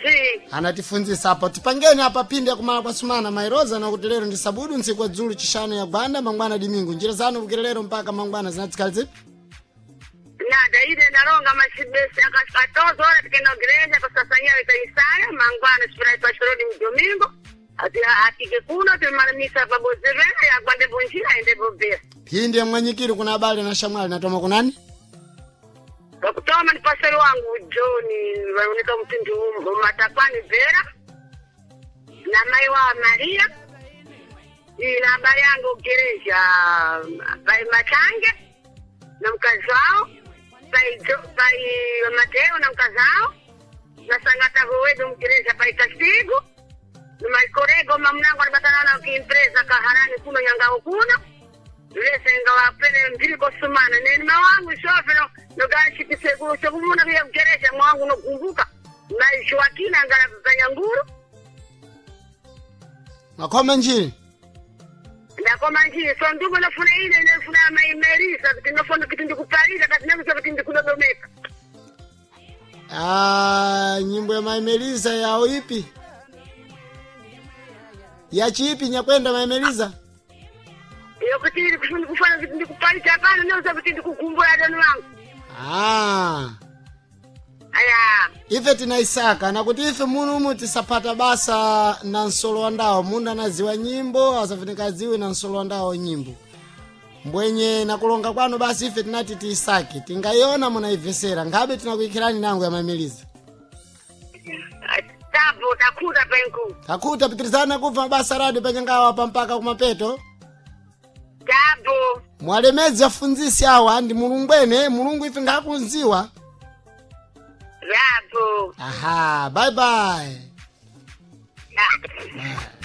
Nji. Anatifunzisa apo tipangeni apa pindi yakumala kwa sumana mairoza nakuti lero ndi sabudu ntsiku wa dzulu chishanu ya gwanda mangwana dimingu njira zanu kukira lero mpaka mangwana zinatsikali zipi? Nada ile naronga mashibesi akatozo ora tikenda gereja kusasanya itaisaya mangwana sifura pashorodi mdomingo ati atike kuno timalamisa pabozevera yakwande bonjira ende bobera. Phindi ya mwanyikiri kuna abale na shamwali natoma kunani? Pakutoma ni pastor wangu John waoneka mtindi matakwani Vera na mai wa Maria ila habari yangu gereja pai Machange na mkazi wao pai pai Mateo na mkazi wao na sangata wedu mgereja pai Kastigo na maikorego mamnango alibatana na kiimpresa kaharani kuno nyangao kuno lesenga wapele mbili kosumana neni mawangu shofero nogashikisekulu sekumuna kuya kugereja mwangu nokumbuka maishuakina ngala kanyanguru. Makhoma njiri. Ndakoma njiri so ndugu nofuna ine nefuna maimerisa kuti nofuna kuti ndikupalira kati nekuza kuti ndikudodomeka. Ah, nyimbo ya maimelisa yao ipi yachiipi nyakwenda maimelisa? Yokuti iri kufana kuti ndikupalira hapana nekuza kuti ndikugumbura adoni wangu. Ah. Aya. Ife tinaisaka nakuti ife munumu tisapata basa na nsolo wa ndawo mundu anaziwa nyimbo asafunika aziwe na nsolo wa ndawo nyimbo mbwenye nakulonga kwanu basi ife tinati tiisake tingaiona munaivesera ngabe tinakuikhirani nango ya mamiliza. Tabo takuta penku. Takuta pitirizana kubva mabasa radio panyangawa pa mpaka kumapeto. Tabo. Mwalemedzi afunzisi awa ndi mulungu ene mulungu ife ngakunziwa. Rabo. Aha, bye bye. Yeah.